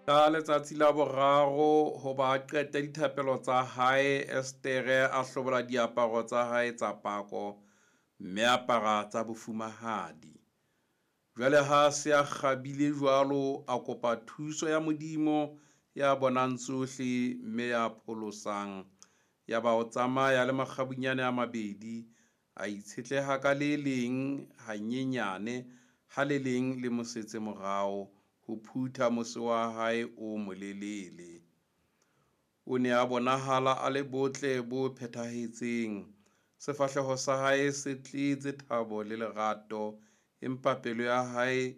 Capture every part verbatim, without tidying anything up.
Ka letsatsi la boraro, hoba a qete dithapelo tsa hae, Esetere a hlobola diaparo tsa hae tsa pako, mme a apara tsa bofumahadi. Jwale ha a se a kgabile jwalo, a kopa thuso ya Modimo ya bonang tsohle, mme ya pholosang. Yaba o tsamaya le makgabunyane a mabedi, a itshetleha ka le leng hanyenyane, ha le leng le mo setse morao, ho phutha mose wa hae o molelele. O ne a bonahala a le botle bo phethahetseng, sefahleho sa hae se tletse thabo le lerato, empa pelo ya hae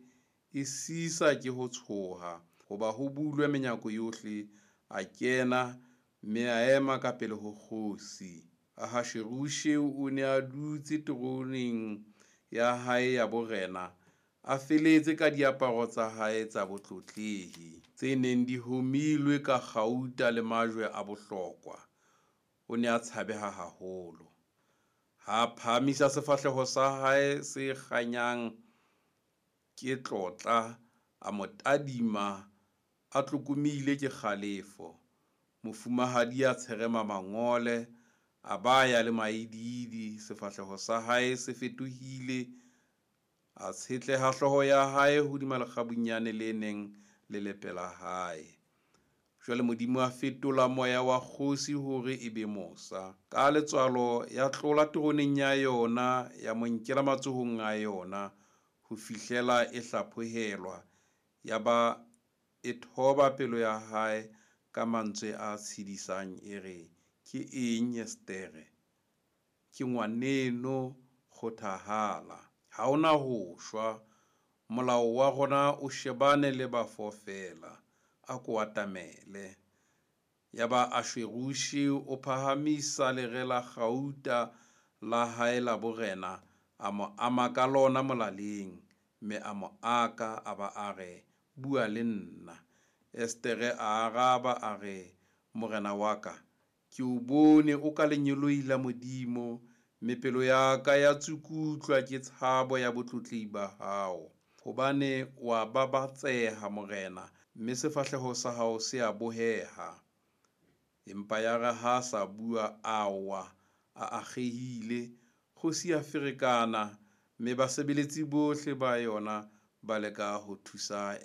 e sisa ke ho tshoha, hoba ho bulwe menyako yohle, a kena, mme a ema ka pele ho kgosi. Ahashuerushe o ne a dutse teroneng ya hae ya borena, a feletse ka diaparo tsa hae tsa botlotlehi, tse neng di homilwe ka kgauta le majwe a bohlokwa. O ne a tshabeha haholo. Ha a phahamisa sefahleho sa hae se kganyang ke tlotla, a mo tadima a tlokomile ke kgalefo. Mofumahadi a tsherema mangole, a ba ya le maidiidi, sefahleho sa hae se fetohile, a tshetleha hlooho ya hae hodima lekgabunyane le neng le le pela hae. Jwale Modimo a fetola moya wa kgosi hore e be mosa. Ka letswalo ya tlola teroneng ya yona, ya mo nkela matsohong a yona, ho fihlela e hlaphohelwa, ya ba e thoba pelo ya hae ka mantswe a tshedisang e re, ke eng Estere? Ke ngwaneno, kgothahala. Ha o na ho shwa. Molao wa rona o shebane le bafo feela. A ko atamele. Yaba Ashuerushe o phahamisa lere la kgauta la hae la borena, a mo ama ka lona molaleng, mme a mo aka, a ba a re, bua le nna. Estere a araba a re, morena wa ka, ke o bone o ka lengeloi la Modimo, mme pelo ya ka ya tsukutlwa ke tshabo ya botlotlehi ba hao. Hobane wa babatseha, morena, mme sefahleho sa hao se a boheha. Empa yare ha a sa bua, a wa, a akgehile, kgosi ya ferekana, mme basebeletsi bohle ba yona ba leka ho thusa